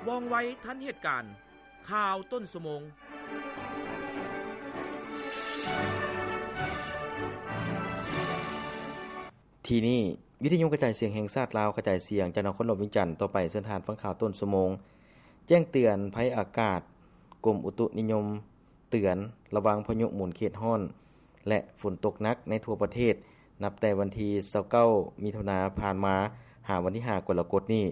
ວ່ອງໄວທັນເຫດການ. ຂ່າວຕົ້ນຊົ່ວໂມງ. ທີ່ນີ້ ວິທະຍຸກະຈາຍສຽງແຫ່ງຊາດລາວ ກະຈາຍສຽງຈາກນະຄອນຫຼວງວຽງຈັນ. ຕໍ່ໄປເຊີນທ່ານຟັງຂ່າວຕົ້ນຊົ່ວໂມງ. ແຈ້ງເຕືອນໄພອາກາດ, ກົມອຸຕຸນິຍົມເຕືອນລະວັງພາຍຸໝູນເຂດຮ້ອນ ແລະ ຝົນຕົກໜັກໃນທົ່ວປະເທດ ນັບແຕ່ວັນທີຊາວເກົ້າ ມິຖຸນາຜ່ານມາ ຫາວັນທີຫ້າ ກໍລະກົດນີ້.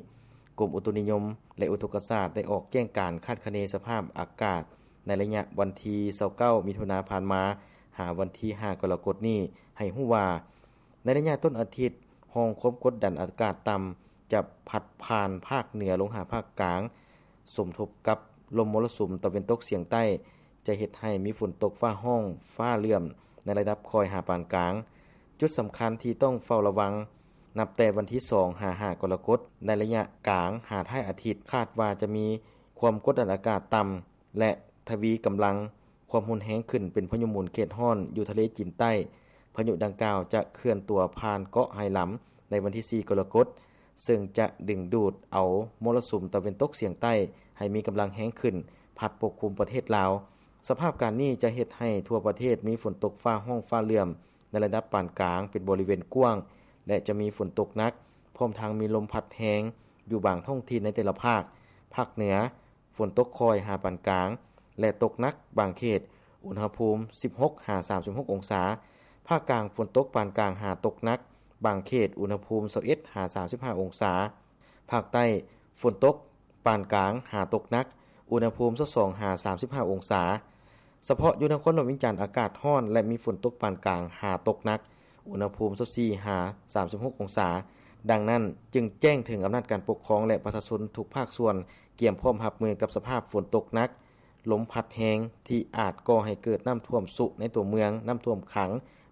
ກົມອຸຕຸນິຍົມ ແລະ ອຸທົກກະສາດ ໄດ້ອອກແຈ້ງການຄາດຄະເນສະພາບອາກາດ ໃນໄລຍະວັນທີຊາວເກົ້າ ມິຖຸນາຜ່ານມາ ຫາວັນທີຫ້າ ກໍລະກົດນີ້ ໃຫ້ຮູ້ວ່າ ໃນໄລຍະຕົ້ນອາທິດ, ຮ່ອງຄວາມກົດດັນອາກາດຕ່ຳ ຈະພັດຜ່ານພາກເໜືອລົງຫາພາກກາງ, ສົມທົບກັບລົມມໍລະສຸມຕາເວັນຕົກສຽງໃຕ້ ຈະເຮັດໃຫ້ມີຝົນຕົກຟ້າຮ້ອງຟ້າເຫຼື້ອມ ໃນລະດັບຄ່ອຍຫາປານກາງ. ຈຸດສຳຄັນທີ່ຕ້ອງເຝົ້າລະວັງ ນັບແຕ່ວັນທີສອງ ຫາ ຫ້າ ກໍລະກົດ, ໃນໄລຍະກາງຫາທ້າຍອາທິດ ຄາດວ່າຈະມີຄວາມກົດດັນອາກາດຕ່ຳ ແລະ ທະວີກຳລັງຄວາມຮຸນແຮງຂຶ້ນເປັນພາຍຸໝູນເຂດຮ້ອນຢູ່ທະເລຈີນໃຕ້. ພາຍຸດັ່ງກ່າວຈະເຄື່ອນຕົວຜ່ານເກາະໄຮລຳໃນວັນທີສີ່ ກໍລະກົດ, ເຊິ່ງຈະດຶງດູດເອົາມໍລະສຸມຕາເວັນຕົກສຽງໃຕ້ໃຫ້ມີກຳລັງແຮງຂຶ້ນ ພັດປົກຄຸມປະເທດລາວ. ສະພາບການນີ້ຈະເຮັດໃຫ້ທົ່ວປະເທດມີຝົນຕົກຟ້າຮ້ອງຟ້າເຫຼື້ອມໃນລະດັບປານກາງເປັນບໍລິເວນກວ້າງ ແລະ ຈະມີຝົນຕົກໜັກ, ພ້ອມທັງມີລົມພັດແຮງຢູ່ບາງທ້ອງຖິ່ນໃນແຕ່ລະພາກ, ພາກເໜືອ ຝົນຕົກຄ່ອຍຫາປານກາງ ແລະ ຕົກໜັກບາງເຂດ, ອຸນຫະພູມສິບຫົກຫາສາມສິບຫົກອົງສາ. ພາກກາງ ຝົນຕົກປານກາງຫາຕົກໜັກບາງເຂດ, ອຸນຫະພູມຊາວເອັດຫາສາມສິບຫ້າອົງສາ. ພາກໃຕ້ ຝົນຕົກປານກາງຫາຕົກໜັກ, ອຸນຫະພູມຊາວສອງຫາສາມສິບຫ້າອົງສາ. ສະເພາະຢູ່ນະຄອນຫຼວງວຽງຈັນ ອາກາດຮ້ອນ ແລະ ມີຝົນຕົກປານກາງຫາຕົກໜັກ, ອຸນຫະພູມຊາວສີ່ຫາສາມສິບຫົກອົງສາ. ດັ່ງນັ້ນ, ຈຶ່ງແຈ້ງເຖິງອຳນາດການປົກຄອງ ແລະ ປະຊາຊົນທຸກພາກສ່ວນ ກຽມພ້ອມຮັບມືກັບສະພາບຝົນຕົກໜັກ, ລົມພັດແຮງ ທີ່ອາດກໍ່ໃຫ້ເກີດນ້ຳຖ້ວມຊຸໃນຕົວເມືອງ, ນ້ຳຖ້ວມຂັງ,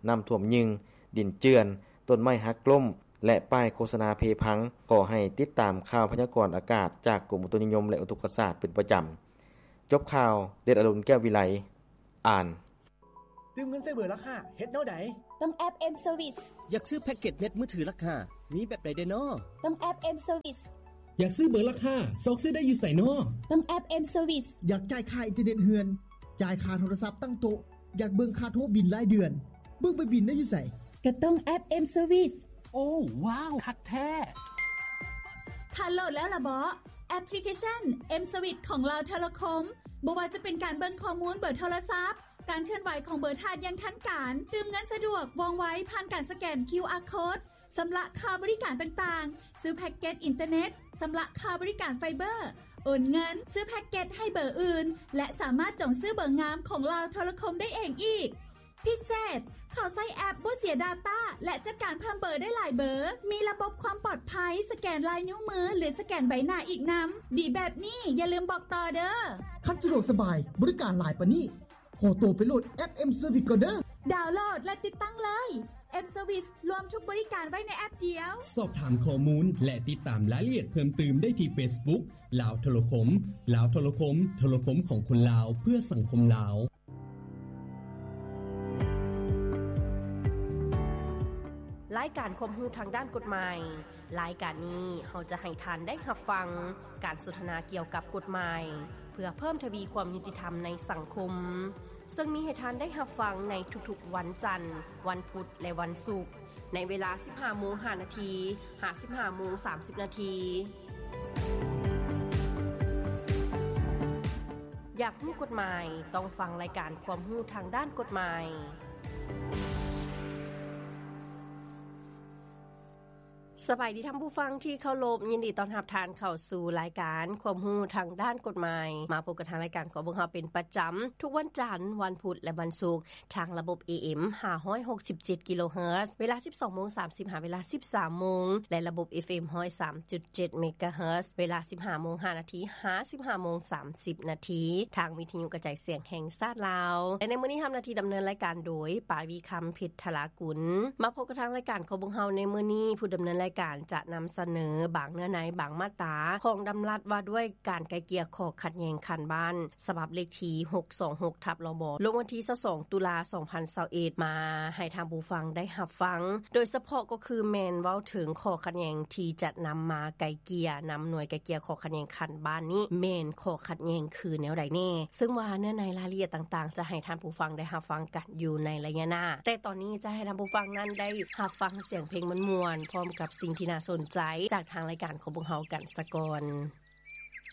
ນ້ຳຖ້ວມຍຶ່ງ, ດິນເຈື່ອນ, ຕົ້ນໄມ້ຫັກລົ້ມ ແລະ ປ້າຍໂຄສະນາເພພັງ. ຂໍໃຫ້ຕິດຕາມຂ່າວພະຍາກອນອາກາດຈາກກົມອຸຕຸນິຍົມ ແລະ ອຸທົກກະສາດເປັນປະຈຳ. ຈົບຂ່າວ, ເດດອະລຸນ ແກ້ວວິໄລ ອ່ານ. ຕື່ມເງິນໃສ່ເບີລັກຫ້າ ເຮັດແນວໃດ? ຕ້ອງແອັບ M Service. ຢາກຊື້ແພັກເກັດເນັດມືຖືລັກຫ້າ ມີແບບໃດແດ່ນໍ? ຕ້ອງແອັບ M Service. ຢາກຊື້ເບີລັກຫ້າ ຊອກຊື້ໄດ້ຢູ່ໃສນໍ? ຕ້ອງແອັບ M Service. ຢາກຈ່າຍຄ່າອິນເຕີເນັດເຮືອນ, ຈ່າຍຄ່າໂທລະສັບຕັ້ງໂຕະ, ຢາກເບິ່ງຄ່າໂທບິນລາຍເດືອນ, ເບິ່ງໃບບິນໄດ້ຢູ່ໃສ? ກໍຕ້ອງແອັບ M Service. ໂອ້ ວ້າວ ຄັກແທ້! ທ່ານໂຫຼດແລ້ວລະເບາະ? ແອັບພລິເຄຊັນ M Service ຂອງລາວໂທລະຄົມ. ບໍ່ວ່າຈະເປັນການເບິ່ງຂໍ້ມູນເບີໂທລະສັບ, ການເຄື່ອນໄຫວຂອງເບີທ່ານຢ່າງທັນການ, ຕື່ມເງິນສະດວກ, ວ່ອງໄວ, ຜ່ານການສະແກນ ຄິວອາ ໂຄດ, ຊຳລະຄ່າບໍລິການຕ່າງໆ, ຊື້ແພັກເກັດອິນເຕີເນັດ, ຊຳລະຄ່າບໍລິການໄຟເບີ, ໂອນເງິນ, ຊື້ແພັກເກັດໃຫ້ເບີອື່ນ ແລະ ສາມາດຈອງຊື້ເບີງາມຂອງລາວໂທລະຄົມໄດ້ເອງອີກ. ພິເສດ, ເຂົ້າໃຊ້ແອັບບໍ່ເສຍດາຕ້າ ແລະ ຈັດການເພີ່ມເບີໄດ້ຫຼາຍເບີ, ມີລະບົບຄວາມປອດໄພ, ສະແກນລາຍນິ້ວມື ຫຼື ສະແກນໃບໜ້າອີກນຳ. ດີແບບນີ້ ຢ່າລືມບອກຕໍ່ເດີ້. ຄັນສະດວກສະບາຍ, ບໍລິການຫຼາຍປານນີ້, ຂໍໂຕໄປໂຫຼດແອັບ M Service ກ່ອນເດີ້. ດາວໂຫຼດ ແລະ ຕິດຕັ້ງເລີຍ. M Service ລວມທຸກບໍລິການໄວ້ໃນແອັບດຽວ. ສອບຖາມຂໍ້ມູນ ແລະ ຕິດຕາມລາຍລະອຽດເພີ່ມຕື່ມໄດ້ທີ່ Facebook ລາວໂທລະຄົມ. ລາວໂທລະຄົມ, ໂທລະຄົມຂອງຄົນລາວ ເພື່ອສັງຄົມລາວ. ລາຍການຄວາມຮູ້ທາງດ້ານກົດໝາຍ. ລາຍການນີ້ເຮົາຈະໃຫ້ທ່ານໄດ້ຮັບຟັງການສົນທະນາກ່ຽວກັບກົດໝາຍ ເພື່ອເພີ່ມທະວີຄວາມຍຸຕິທຳໃນສັງຄົມ, ເຊິ່ງມີໃຫ້ທ່ານໄດ້ຮັບຟັງໃນທຸກໆວັນຈັນ, ວັນພຸດ ແລະ ວັນສຸກ, ໃນເວລາສິບຫ້າໂມງຫ້ານາທີ ຫາ ສິບຫ້າໂມງສາມສິບນາທີ. ຢາກຮູ້ກົດໝາຍ? ຕ້ອງຟັງລາຍການຄວາມຮູ້ທາງດ້ານກົດໝາຍ. ສະບາຍດີທ່ານຜູ້ຟັງທີ່ເຄົາລົບ, ຍິນດີຕ້ອນຮັບທ່ານເຂົ້າສູ່ລາຍການຄວາມຮູ້ທາງດ້ານກົດໝາຍ. ມາພົບກັບທາງລາຍການຂອງພວກເຮົາເປັນປະຈຳ ທຸກວັນຈັນ, ວັນພຸດ ແລະ ວັນສຸກ ທາງລະບົບ ເອເອັມ ຫ້າຮ້ອຍຫົກສິບເຈັດກິໂລເຮີດ ເວລາສິບສອງໂມງສາມສິບ ຫາເວລາສິບສາມໂມງ ແລະ ລະບົບ ເອຟເອັມ ຮ້ອຍສາມຈຸດເຈັດເມກາເຮີດ ເວລາສິບຫ້າໂມງຫ້ານາທີ ຫາ ສິບຫ້າໂມງສາມສິບນາທີ ທາງວິທະຍຸກະຈາຍສຽງແຫ່ງຊາດລາວ. ແລະ ໃນມື້ນີ້ຮັບໜ້າທີ່ດຳເນີນລາຍການໂດຍ ປາວີຄຳ ເພັດທະລາກຸນ. ມາພົບກັບທາງລາຍການຂອງພວກເຮົາໃນມື້ນີ້, ຜູ້ດຳເນີນລາຍ ການຈະນຳສະເໜີບາງເນື້ອໃນ ບາງມາດຕາຂອງດຳລັດວ່າດ້ວຍການໄກ່ເກ່ຍຂໍ້ຂັດແຍ່ງຂັ້ນບ້ານ ສະບັບເລກທີຫົກສອງຫົກທັບລບ ລົງວັນທີຊາວສອງຕຸລາສອງພັນຊາວເອັດ ມາໃຫ້ທ່ານຜູ້ຟັງໄດ້ຮັບຟັງ ໂດຍສະເພາະກໍຄືແມ່ນເວົ້າເຖິງຂໍ້ຂັດແຍ່ງທີ່ຈະນຳມາໄກ່ເກ່ຍນຳໜ່ວຍໄກ່ເກ່ຍຂໍ້ຂັດແຍ່ງຂັ້ນບ້ານນີ້ ແມ່ນຂໍ້ຂັດແຍ່ງຄືແນວໃດແນ່ ເຊິ່ງວ່າເນື້ອໃນລາຍລະອຽດຕ່າງໆ ຈະໃຫ້ທ່ານຜູ້ຟັງໄດ້ຮັບຟັງກັນຢູ່ໃນໄລຍະໜ້າ ແຕ່ຕອນນີ້ຈະໃຫ້ທ່ານຜູ້ຟັງນັ້ນໄດ້ຮັບຟັງສຽງເພງມ່ວນໆ ພ້ອມກັບສິ່ງທີ່ໜ້າສົນໃຈ ຈາກທາງລາຍການຂອງພວກເຮົາກັນສາກ່ອນ.